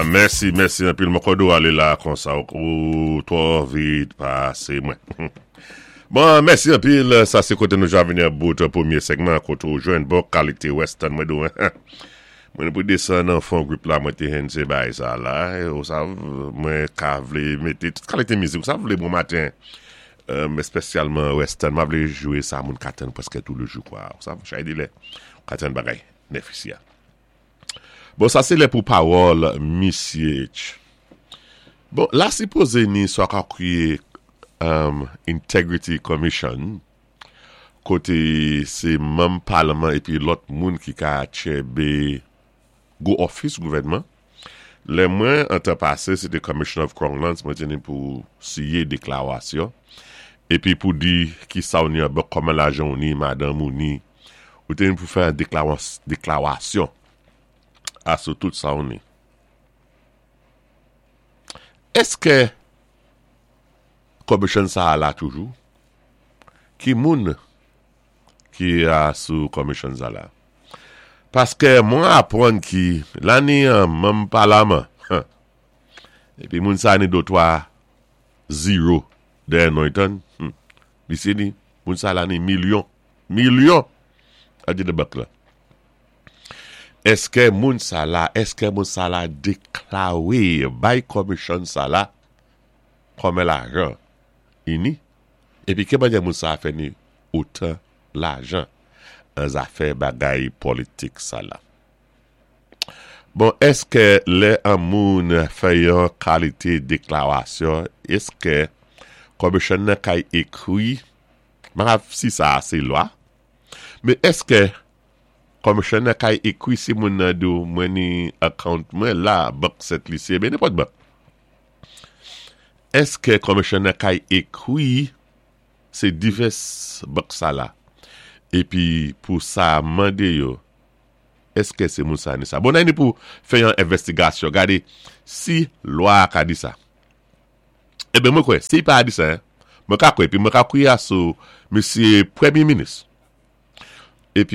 Mèsi, mèsi anpil. Mwen kòd ou alé la konsa ou twò vit pasé mwen. Bon, mèsi anpil. Sa sé koté nou ja vini an bout pwémyé sègman koté ou jwenn bon kalité western mwen di ou. Mwen pou desann nan fon gwoup la mwen té hennse bagay sa la. Ou sav mwen ka vlé mété tout kalité mizik. Ou sav vlé bon maten espèsyalman western. Mwen vlé jwé sa moun ka tann prèskè tou lé jou kwa. Ou sav chay de lè ou ka tann bagay nèf isi a. Bon sa sé lè pou pawòl misye H. Bon la sipozé ni sa w ka kriyé Integrity Commission koté sé manm palman épi lòt moun ki ka tchèbé gwo òfis gouvènman. Lè mwen an tan pasé sé té Commissioner of Crown Lands mwen té ni pou siyé deklawasyon épi pou di ki sa w ni an bank, kòman lajan w ni, madanm ou ni. Ou té ni pou fè an deklawasyon a sou tout sa w ni. Èskè Commission sa a la toujou? Ki moun ki a sou commission sa la? Paskè mwen apwann ki la ni an manm palaman epi moun sa ni dotwa zero dèyè non y tann misye ni moun sa la ni milyon milyon a di de bank la. Èskè moun sa la èskè moun sa la deklare bay commission sa la kòmè lajan ini epi ki manyè moun sa fè ni otan lajan an zafè bagay politik sa la. Bon èskè lè an moun fè yon kalite deklarasyon eskè commission nan kay ekri m pa si sa a se lwa men èskè commission nan kay ekri si moun nan di w mwen ni account mwen la bank Sent Lisi ebyen nenpòt bank Eske commissioner kay ekri se divès bank sa la epi pou sa mande yo eske se moun sa ni sa bon ni pou fè yon envestigasyon gade si lwa a ka di sa eben mwen kwè si pa di sa mwen ka kwè epi mwen ka kwiya sou mesye premye minis epi.